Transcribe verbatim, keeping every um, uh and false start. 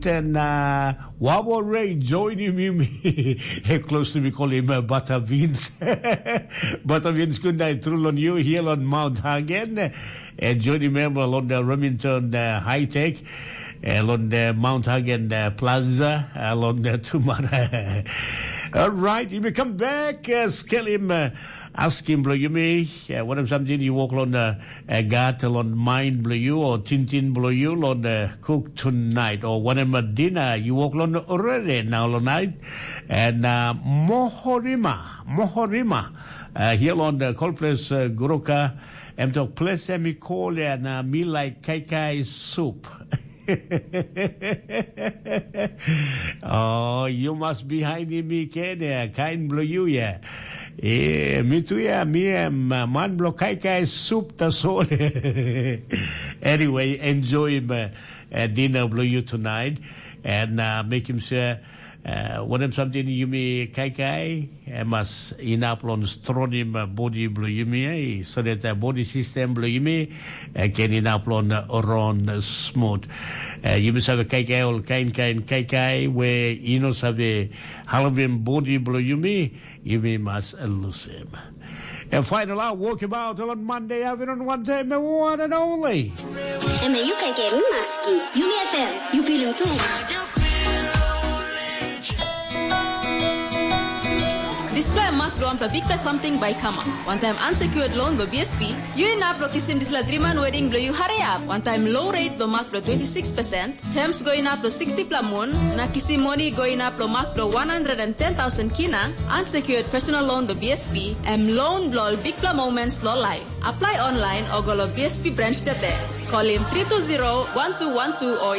And uh, Wabo Ray joining me, me. Hey, close to me, call him uh, Butter Beans. Butter Beans, good night, through on you here on Mount Hagen. And joining member on the Remington uh, High Tech, on the Mount Hagen uh, Plaza, on the Tumara. All right, you may come back, uh, skel him, uh, ask him, bro, you may, uh, what if something you walk on the uh, gat long mind bilong you o tintin bilong you long uh, cook tonight o whatever dinner you walk long already now long night. And uh, Mohorima, Mohorima, uh, here on the cold place uh, Goroka, em tok place em i call ya na mi like kaikai soup. Oh, you must be hiding me, Kenya, kind blue you, yeah. Eh, me too, yeah, me am uh, man blue kai kai soup the soul. Anyway, enjoy him, uh, uh, dinner blue you tonight and uh, make him sure uh, what him something you me kai kai. Em mas inap long stronim uh, body bilong yumi, eh, so that uh, body system bilong yumi uh, can inap long uh, run smooth. Uh, yumi save kaikai ol kain kain kaikai we ino save halvim body bilong yumi, yumi mas uh, lusim. And final out, walk about on Monday afternoon, one time, and one and only. Eme yu kaikai mi maski. Yumi F M, yu pilim tu. Dispela mak bilong wanpela bikpela samting bai i kamap. Wantaim unsecured loan bilong B S P, yu inap long kisim dispela driman wedding bilong yu hariap. Wantaim low rate bilong mak bilong twenty six percent, terms go inap long sixty pela mun, na kisim moni go inap long mak bilong one hundred and ten thousand kina, unsecured personal loan bilong B S P, em loan bilong ol bikpela moments long life. Apply online o go long B S P branch today. Call him three two zero one two one two o